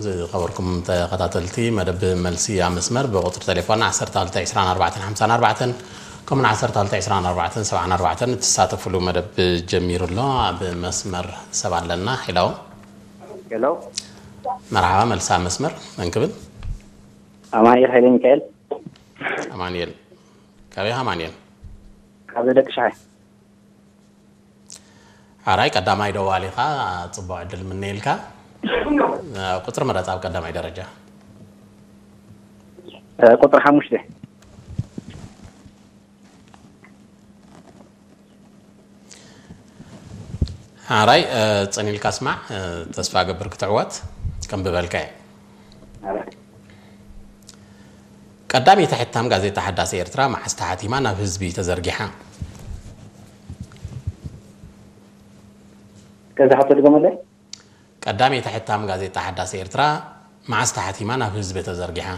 ዝኸበርኩም ተኸታተልቲ መደብ መልሲ ኣብ መስመር ብቁፅሪ ቴሌፎን ዓሰርተ ክልተ ዕስራን ኣርባዕተን ሓምሳን ኣርባዕተን ከምኡን ዓሰርተ ክልተ ዕስራን ኣርባዕተን ሰብዓን ኣርባዕተን እትሳተፍሉ መደብ ጀሚሩ ኣሎ። ኣብ መስመር ሰብ ኣለና። ሄሎ። ሄሎ። መርሓባ፣ መልሲ ኣብ መስመር እንክብል። ኣማኑኤል ሃይለ ሚካኤል። ኣማኑኤል፣ ካበይ ኢኻ ኣማኑኤል? ካብ ደቂ ሻሓይ። ሓራይ ቀዳማይ ደዋሊኻ፣ ጽቡቕ ዕድል ምነየልካ። ቁጽሪ ምረጽ ኣብ ቀዳማይ ደረጃ። ቁጽሪ ሓሙሽተ። ሓራይ፣ ጽን ኢልካ ስማዕ፣ ተስፋ ገብር ክትዕወት። ከም ብበልካ እየ። ቀዳመይቲ ሕታም ጋዜጣ ሓዳስ ኤርትራ መዓስ ተሓቲማ ናብ ህዝቢ ተዘርጊሓ? ከዛ ሓቶ ድገመለይ። ቀዳመይቲ ሕታም ጋዜጣ ሓዳስ ኤርትራ መዓስ ተሓቲማ ናብ ህዝቢ ተዘርጊሓ?